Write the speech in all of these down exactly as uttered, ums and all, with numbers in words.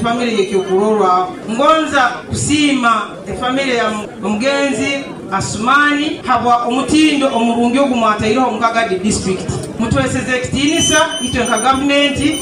Famire yekyokurorwaho ngonza kusiima efamire ya omugenzi Asumani habwa omutindo omurungi ogumwataireho omu Kagadi district. Mutweseze ekitiinisa itwe nka gavumenti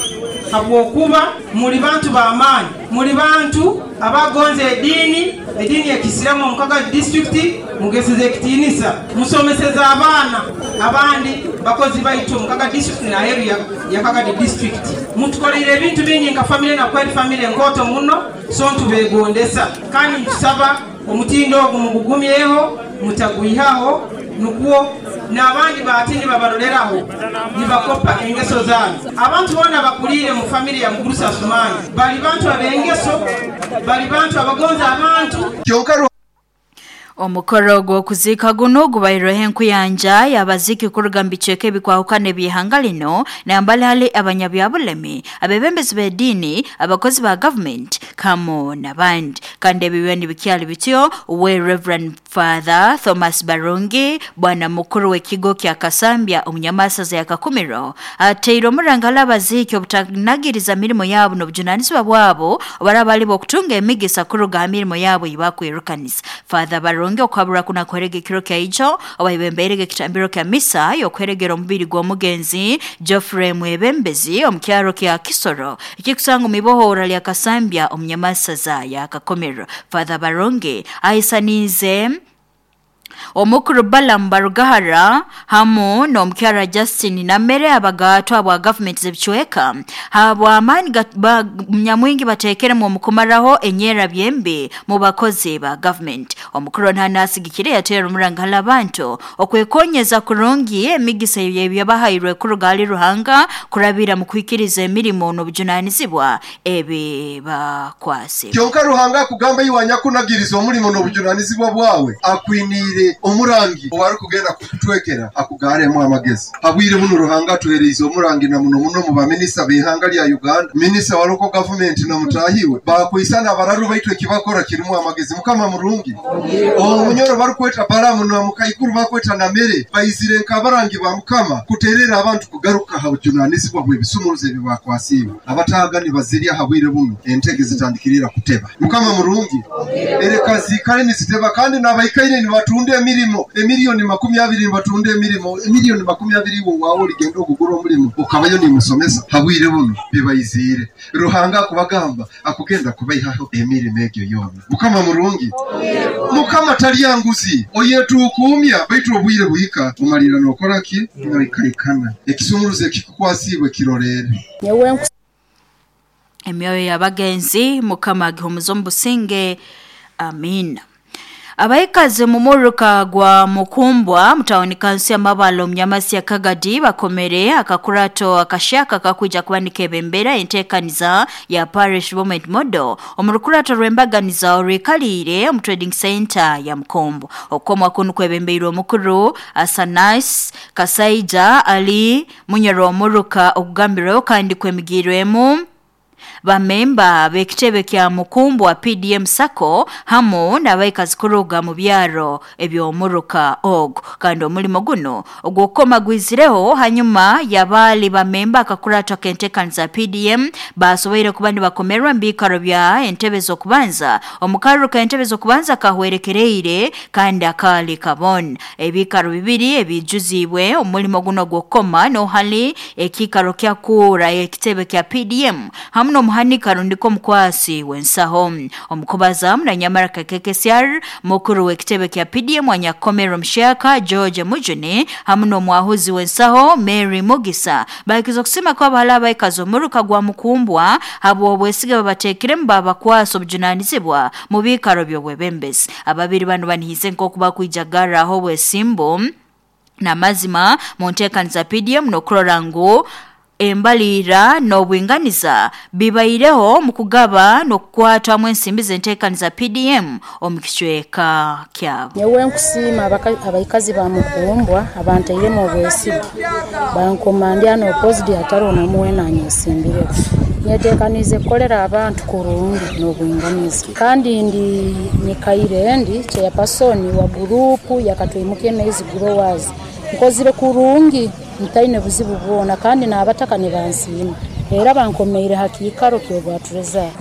habwokuba muli bantu b'amaani, muli bantu abagonza ediini, ediini ya Kisiramu omu Kagadi district. Mugeseze ekitiinisa, musomeseze abaana abandi bakozi baitu omu Kagadi district n'aheeru ya, ya Kagadi district. Mutukoleire ebintu bingi nka famire, nakweri famire nkoto muno, so ntubegondesa kandi ntusaba omutindo ogu mugugumyeho, mutagwihaho, nukwo n'abandi baatini babaroleraho nibakopa engeso zanyu. Abantu boona bakuliire mu famire ya Mugurusi Asumani bali bantu ab'engeso, bali bantu abagonza abantu. Kyonka Omukoro gw'okuziika guno gubairweho enkuyanja y'abaziiki kuruga mu bicweka ebikwahukana eby'ihanga lino, nambali hali abanyabyabulemi, abebembezi b'ediini, abakozi ba gavumenti kamo n'abandi. Kandi ebibiba nibikyali bityo, we Reverend Father Thomas Barungi, bwana mukuru w'ekigo kya Kasambya omunyamasaza ya Kakumiro, ateire omurangala abaziiki obutanagiriza mirimo yabo n'obujunanizibwa bwabo obaraba bali b'okutunga emigisa kuruga ha mirimo yabo eyibakwirukanisa. Father Barungi okwabura kuna kwerega ekiro kya ijo abaibembeirege ekitambiro kya misa y'okweregera omubiri gw'omugenzi Geoffrey Mwebembezi omu kyaro kya Kisoro ekikusanga omu ibohora lya Kasambya omunyamasaza ya Kakomero. Father Barungi ahisaniize omukuru Balaam Barugahara hamu n'omukyara Justin Namere abagatwa bwa gavumenti z'ebicweka habw'amaani nyamwingi bateekeremu omu kumaraho enyeera byembi mu bakozi ba gavumenti. Omukuru ntanasigikire yateera omurangala abantu okwekonyeza kurungi emigisa ebyabahairwe kuruga hali Ruhanga kurabira mu kwikiriza emirimo n'obujunanizibwa ebi bakwase. Kyonka Ruhanga akugamba iwanya kunagiriza omulimo n'obujunanizibwa bwawe akwiniire omurangi owari kugenda kukutwekera akugaremu amagezi. Habwire buno Ruhanga atuhereize omurangi na muno muno mu baminisita b'ihanga lya Uganda, minisita wa local government na mutahiwe bakwisana abararu baitu ekibakora kirimu amagezi. Mukama murungi. Omunyoro barikweta Balamu na mukaikuru bakweta Namere baizire nkabarangi ba Mukama kuterera abantu kugaruka ha bujunanizibwa bw'ebisumuruzo ebi bakwasiwe. Abatagani bazirya habwire buno entege zitandikirira kuteba. Mukama murungi. Ereka zikare niziteba kandi n'abaikaire nibatunde emirimo emiliyoni makumi abiri nibatunde emirimo emiliyoni makumi abiri wo wawe oligenda okugura omulimo okabayo nimusomesa habwire buno bibaizire. Ruhanga akubagamba akugenda kubaihaho emirimo egyo yona. Mukama murungi. Mukama talyanguzi oyetukumya baitu obwire buhika umalira nokora ki noikaikana ekisumuruzo ekikukwasibwe kirorere. Emyoyo y'abagenzi Mukama agihumuza omu businge. Amina. Abaikazi mu muruka gwa Mukumbwa mutawuni kansi ya Mabalo mnyamasi ya Kagadi bakomere akakurato akashaka kakuja kubanika ebembera entekaniza ya Parish Development Model omurukurato rwembaganiza orwikalire omu trading center ya Mukumbwa. Okomwa kunu kwebembeirwe omukuru Asanas Kasaija ali munyoro omuruka okugambirweho kandi kwemigirwemu bamemba b'ekitebe kya Mukumbwa P D M Sacco hamu n'abaikazi kuruga mu byaro eby'omuruka ogo. Kandi omulimo guno ogw'okukoma gwizireho hanyuma y'abaali bamemba akakurato k'enteekaniza P D M basoboire kuba nibakomerwa mu biikaro bya entebe z'okubanza. Omukaruru k'entebe z'okubanza kahwerekereire kandi akaali kabona ebiikaro bibiri ebijuziibwe omulimo guno gw'okukoma n'ohali ekiikaro kya kuura ekitebe kya P D M hamu n'omuhanika rundiko omukwasi w'ensaho. Omukubaza munanyamara K K C R mukuru w'ekitebe kya P D M wanyakomero Mushaka George Mujuni hamu n'omwahuzi w'ensaho Mary Mugisa bahikiza okusima kw'abahala abaikazi omuruka gwa Mukumbwa habw'obwesige babateekiremu babakwasa obujunanizibwa mu biikaro by'obwebembezi. Ababiri bano banihize nk'oku bakwijagaraho obwesimbu n'amazima mu nteekaniza P D M n'okurora ngu embalira n'obwinganiza bibaireho mu kugaba n'okukwatamu ensimbi z'enteekaniza P D M omu kicweka kyabo. Nyowe nkusiima abaikazi ba Mukumbwa abantairemu obwesige bankomandya n'opozidi atari onamuwe nanyesimbireko. Nyeteekanize kukolera abantu kurungi n'obwinganiza kandi ndi nyikaire ndi chairperson wa gurupu yakatwimuke maize growers nkozire kurungi ntaine buzibu bwona kandi n'abataka nibansiima era bankomeire hakiikaro ky'obwatureza.